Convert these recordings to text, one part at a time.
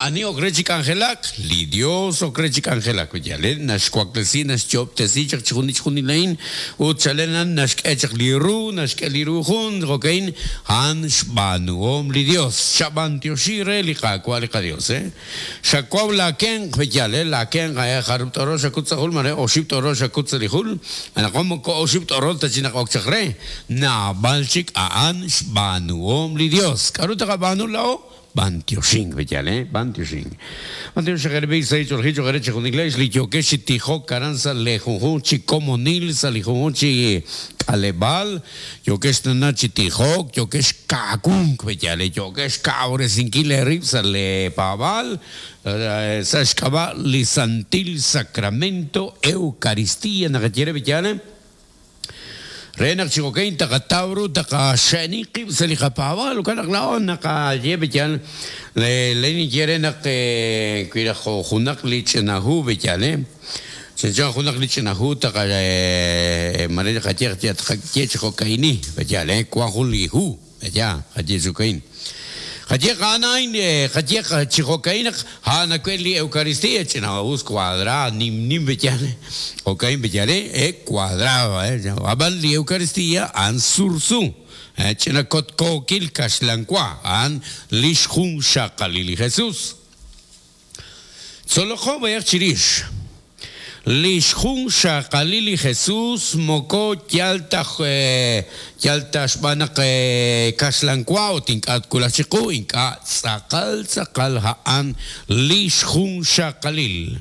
Ani ok re chi k'anjelak? Li Dios ok re chi k'anjelak. Yale naxwaklesi, naxyo'ob'tesi chaq chixjunil chixjunil a'in, ut chalen a'an naxk'e chaq li ru, naxk'e li ru jun, jo'ka'in, a'an xb'aanuhom li Dios. Chab'antioxi re li Qaawa' li qaDios, eh. Xawaw laa kenq, yal, eh, laa kenq, eh, jarub' t'orol xakut sa' jul, mare oxib' t'orol xakut sa' li jul, anaqwan moko oxib' t'orol ta chik naq ok chaq re, naab'al chik a'an xb'aanuhom li Dios. K'a'ru taqab'aanu laa'o? B'antioxink, yal, eh, b'antioxink. B'antiox chaq eere b'i' sahil ch'oolejil cho'q eere chejunilex li yookex chi tijok aran sa' lee junjunq chi komonil, sa' li junjunq chi k'aleb'aal, Yookex tana chi tijok, yookex kawunk, pe'yaal, yookex xkawresinkil eerib' sa' lee paab'aal sa' xk'ab'a' li Santil Sacramento Eucaristía naqaye re, pe'yaal, re naq chi jo'kan taqataw ru taqaxe'ni qib' sa' li qapaab'aal. Jo'kan naq laa'o naqaye, pe'yaal, len ninye re naq wi raj jo' junaq li ch'ina hu, pe'yaal, Chanchan junaq li ch'ina hu taqa mare qaye tqaye chi jo'ka'ini, pe'yaal, eh, wan jun li hu, pe'yaal, qaye chi jo'ka'in. Qaye a'an a'in, qaye chi jo'ka'in naq a'an awe' li Eucaristía, ch'ina us cuadrado, nim nim, pe'yaal, jo'ka'in, pe'yaal, eh, cuadrado, eh, ab'an li Eucaristía a'an sursu, eh, ch'ina kotkookil kaxlan wa, a'an lix junxaqalil li Jesús. Tzoloqo b'ayaq chirix. Li xjunxaqalil li Jesús moko yal ta yal ta xb'aan naq kaxlan wa ut ink'a' twulaq chiqu, ink'a' tz'aqal tz'aqal a'an li xjunxaqalil.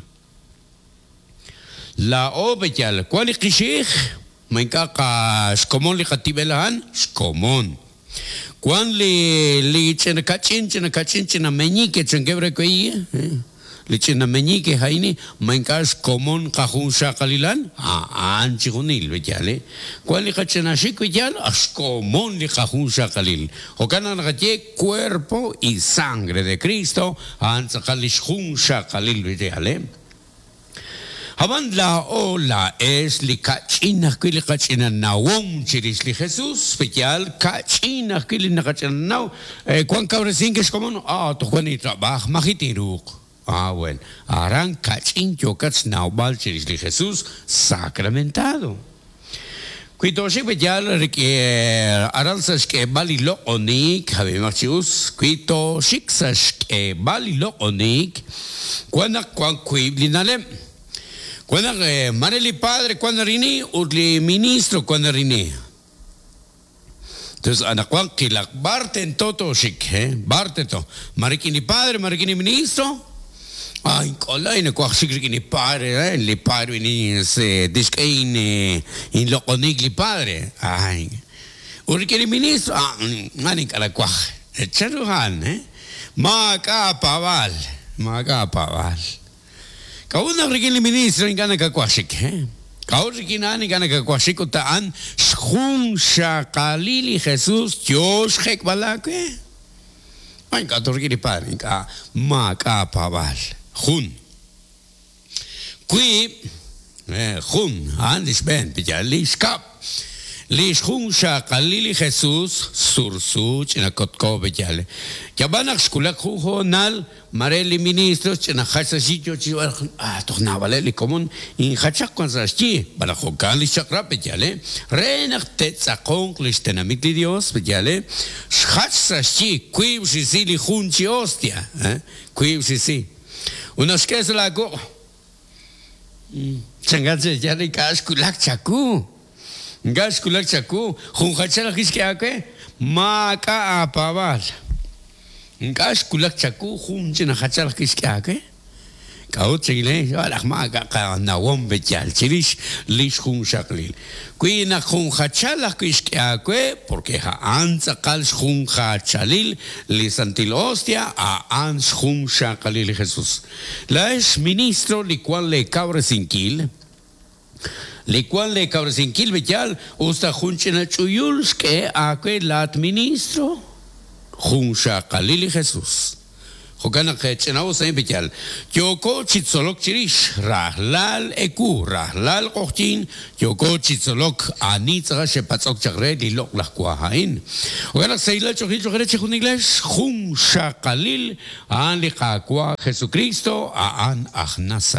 Laa'o pe yal wan li qixi'ij, ma ink'a' qa xkomon li qatib'el a'an? Xkomon. Wan li li ch'ina kach'in, ch'ina kach'in, ch'ina meñique chankeb' re we, li ch'ina meñique a'in ma ink'a' xkomon qajunxaqalilal? A'an chijunil, b'eyal, eh. Wan li qach'ina xik, b'eyal, xkomon li qajunxaqalil. Jo'kan naq naqaye cuerpo y sangre de Cristo, a'an tz'aqal li xjunxaqalil, b'eyal, eh. Ab'an laa'o laa'ex li ka'ch'in ajwi' li qach'ina nawom chirix li Jesus, pe'yaal ka'ch'in ajwi' li naqach'ina naw, wan kawresink ex komon, ah, toj wan intrab'aaj, maji' tinruuq. Ah, wen, aran ka'ch'in yookat xnawb'al chirix li Jesus sacramentado. Wi tooxik pe'yaal rik'in aran sa' xk'eeb'al li loq'oniik, ab'imaq chi us, wi tooxik sa' xk'eeb'al li loq'oniik, wan naq wan wiib' li na'leb'. Wan naq maare li padre wan narini ut li ministro wan narini. Entonces anaqwan qilaq b'ar tento tooxik, b'ar tento, ma rik'in li padre, ma rik'in li ministro? Ay, ink'olay nawaj xik rik'in li padre, eh, li padre tixk'e inloq'oniik li padre. Ay, ut rik'in li ministro, ah, a'an ink'a' nawaj. Chanru a'an, eh? Maak'a' aapaab'aal, maak'a' aapaab'aal. K'a'ut naq rik'in li ministro ink'a' nakawaj xik, eh? K'a'ut rik'in a'an ink'a' nakawaj xik ut a'an xjunxaqalil li Jesus yoo xjek'b'al aawe? Ma ink'a' toj rik'in li padre, ink'a' maak'a' aapaab'aal. Jun. Wiib', jun, a'an li xb'een, yal li xkab'. Li xjunxaqalil li Jesus sursu ch'ina kotko b'eyal. Yab'an naq xwulak jun hoonal, Mare li ministro ch'ina jach sa' xyi yoo chi ah, toj naab'aleb' li komon injachaq wan sa' xyi, malaj jo'kan lix chaq'rab' b'eyal, re naq te'tz'aqonq lix tenamit li Dios b'eyal, xjach sa' xyi wiib' xrisi li jun chi hostia, wiib' xrisi. Ut naq xk'e sa' laa wuq', chankat che yal ink'a' xwulak chawu, ink'a' xwulak chawu, jun jachal ajwi' xk'e aawe, maak'a' aapaab'aal. Ink'a' xwulak chawu jun ch'ina jachal ajwi' xk'e aawe. K'a'ut chikile? Xb'aan naq maak'a' qanawom yal chirix li xjunxaqalil. Wi naq jun jachal ajwi' xk'e aawe, porque a'an tz'aqal xjunjachalil li Santil Hostia, a'an xjunxaqalil li Jesus. Laa'ex ministro li wan lee kawresinkil, li wan lee kawresinkil b'eyal, us ta jun ch'ina ch'uyul xk'e aawe laat ministro, junxaqalil li Jesus. Jo'kan naq ch'ina'us a'in peyal. Yooko chi tzolok chirix rajlal ewu, rajlal q'oqyink, yooko chi tzolok ani tz'aqal xe'patz'ok chaq re li loq'laj wa a'in. Jo'kan naq sahilal ch'oqil cho'q re chejunilex jun xaqalil a'an li Qaawa' Jesukristo, a'an aj Nazaret.